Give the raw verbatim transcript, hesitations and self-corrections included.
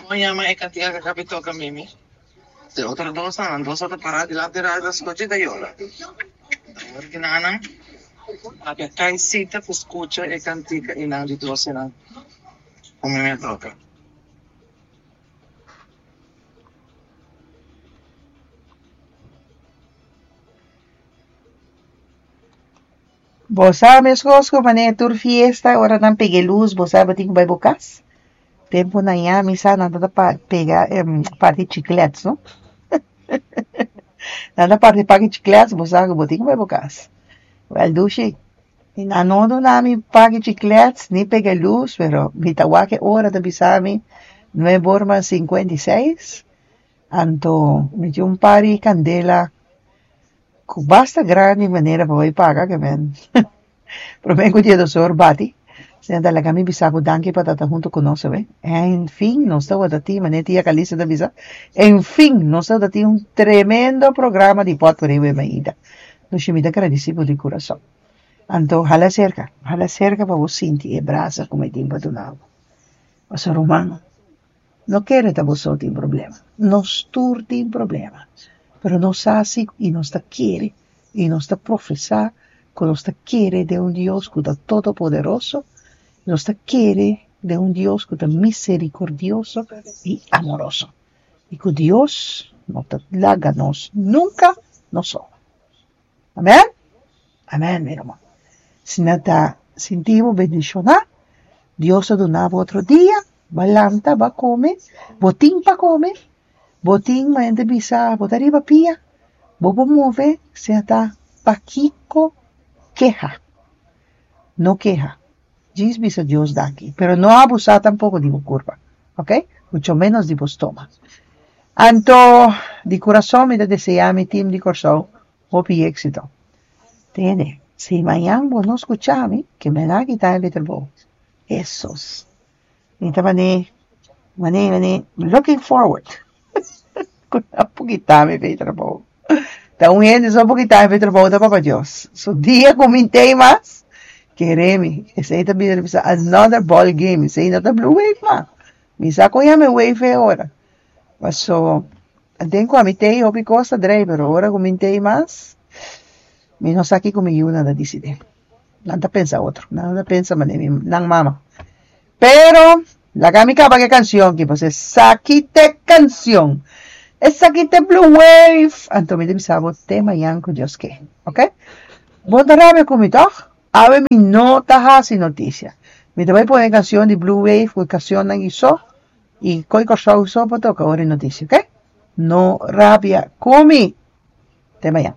Kon yama e kantika ku kapi toka Mimi? E otro dos nan dos ta pará dilanti radio ta skucha i ta yora. Awor ki nan papia kai sita ku skucha e kantika i nan di dos nan ku Mimi a toka. Bo sa meskos ku manera tur fiesta ora nan pega e lus bo sa bo tin ku bai bo kas. Tempu nan ya mi sa nan ta pega parti chiklets no. Nan ta parti paki chiklets bo sa ku bo tin ku bai bo kas. Wèl dushi nan no duna mi paki chiklets ni pega e lus pero mi ta wak e ora ta bisa mi nuebe ora mas sinkuenta i seis anto mi tin un par di kandela ku basta grandi manera pa bai paga ke men prome ku dia dos or bati asina ta laga mi bisa bo danki pa ta hunto ku nos awe en fin nos tabata tin manera tia Calista ta bisa en fin nos tabata tin un tremendo programa di potpuri awe mainta nos mi ta gradisi bo di kurason anto hala serka hala serka pa bo sinti e brasa ku mi tin pa duna bo pasobra ruman no kere ta bo so tin problema nos tur tin problema pero nos sa si i nos ta kere i nos ta profesá ku nos ta kere den un Dios ku ta todopoderoso nos ta kere den un Dios ku ta miserikordioso i amoroso i ku Dios no ta laga nos nunka nos so. Amèn? Amèn, mi ruman. Si nan ta sinti bo bendishoná, Dios a duna bo otro dia, bo a lanta, bo a kome, bo tin pa kome, bo tin manera bisa, bo ta riba pia, bo por move, sea ta pakiko keha. No keha. Djis bisa Dios danki, pero no abusá tampoko di bo kurpa, ok? Mucho menos di bo stoma. Anto, di kurason mi ta deseá mi tim di Kòrsou hopi éksito. Tende, si mañan bo no skucha mi, ke mi a kita e trabou. Hesus. Mi ta mané, mané, mané, looking forward. Ku nan por kita mi fe trabou. Ta un hende so por kita mi fe trabou ta Papa Dios. So dia ku mi t'ei mas, kere mi, esei ta bira bisa another ball game, esei no ta blue wave mas. Mi sa kon yama e wave e ora. Paso, den ku ami t'ei hopi kos ta drei, pero ora ku mi t'ei mas, mi no sa kiko mi yunan ta disidí. Nan ta pensa otro, nan no ta pensa manera mi nan mama. Pero, laga mi kaba ku e kanshon aki, pasobra esaki ta e kanshon. Esaki ta e blue wave. Anto mi ta bisa bo te mañan ku Dios ke, ok? Bo ta rabia ku mi tòg? Awe mi no ta hasi notisia. Mi ta bai pone e kanshon di blue wave ku e kanshonnan i so, i koi Kòrsou so pa toka ora e notisia, ok? No rabia ku mi. Te mañan.